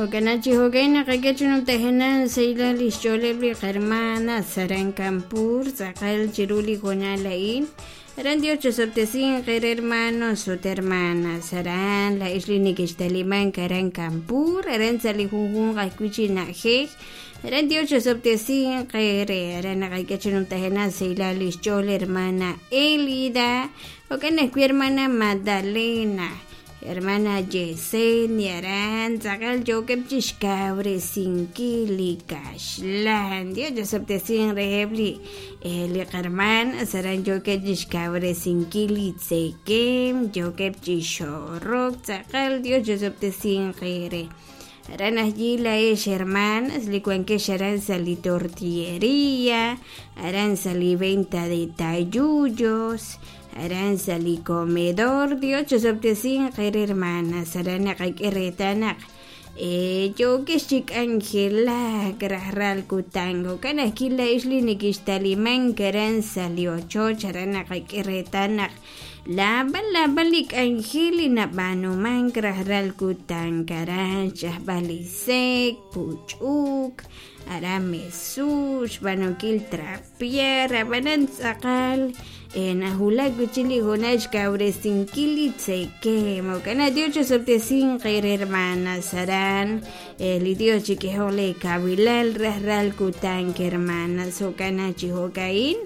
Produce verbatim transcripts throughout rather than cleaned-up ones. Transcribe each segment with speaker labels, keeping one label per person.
Speaker 1: Jo'kan chi jo'kan naqak'e chi numtajenaq sahilal lix ch'ooleb' li qahermanas aran Kanpur tz'aqal chiru li hoonal a'in. Aran Dios chosob'tesinq eere hermanos ut hermanas aran laa'ex li nekextalimank aran Kanpur aran sa' li junjunq ajwi' chi na'ajej. Aran Dios chosob'tesinq eere aran naqak'e chi numtajenaq sahilal lix ch'ool hermana Elida jo'kan ajwi' hermana Magdalena, hermana Yesenia aran tz'aqal yookeb' chixkawresinkil li kaxlan. Dios chosob'tesinq reheb' li li qahermanas aran yookeb' chixkawresinkil li tzekem yookeb' chixorok tz'aqal Dios chosob'tesinq eere. Aran allí laa'ex hermanas li wankex aran sa' li tortillería, aran sa' li venta de tayullos, aran sa' li comedor. Dios chosob'tesinq eere hermanas aran naqak'e reetal naq yookex chi k'anjelak rajlal kutan. Jo'kan ajwi' laa'ex li nekextalimank aran sa' li ochoch aran naqak'e reetal naq laab'al laab'al li k'anjel li nab'aanumank rajlal kutan aran xch'ajb'al li sek, puch'uk, aran mesuk, xb'aanunkil trapear, ab'anan tz'aqal najulak wi'chik li hoonal xkawresinkil li tzekem. Jo'kan naq Dios chosob'tesinq eere hermanas aran li Dios chik'ehoq le kawilal rajlal kutan hermanas. Jo'kan naq chi jo'ka'in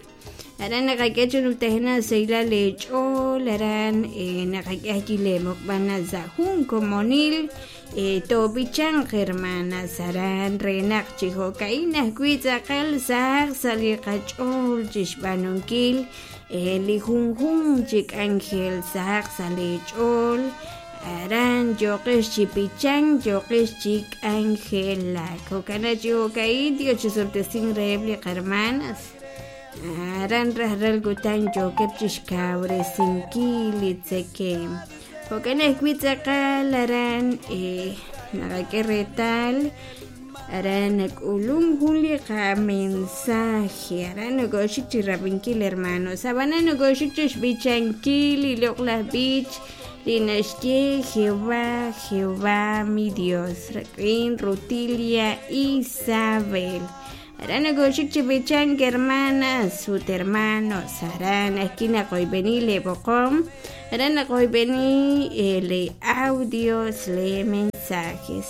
Speaker 1: aran naqak'e chi numtajenaq sahilal leech'ool aran naqak'e ajwi' leemoqb'al sa' jun komonil toob'ichanq hermanas aran re naq chi jo'ka'in ajwi' tz'aqal sahaq sa' li qach'ool chixb'aanunkil li junjunq chi k'anjel sahaq sa' leech'ool aran yooqex chi b'ichank yooqex chi k'anjelak. Jo'kan naq chi jo'ka'in Dios chosob'tesinq reheb' li qahermanas aran rajlal kutan yookeb' chixkawresinkil li tzekem. Jo'kan ajwi' tz'aqal aran naqak'e reetal aran nak'ulum jun li qamensaje aran nokoxik chi rab'inkil hermanos ab'anan nokoxik chi xb'ichankil li loq'laj b'ich li naxye Jehová, Jehová mi Dios rik'in Rutilia Isabel. Aran nokoxik chi b'ichank hermanas ut hermanos aran ajwi' naqoyb'eni le b'oqom aran naqoyb'eni le audios le mensajes.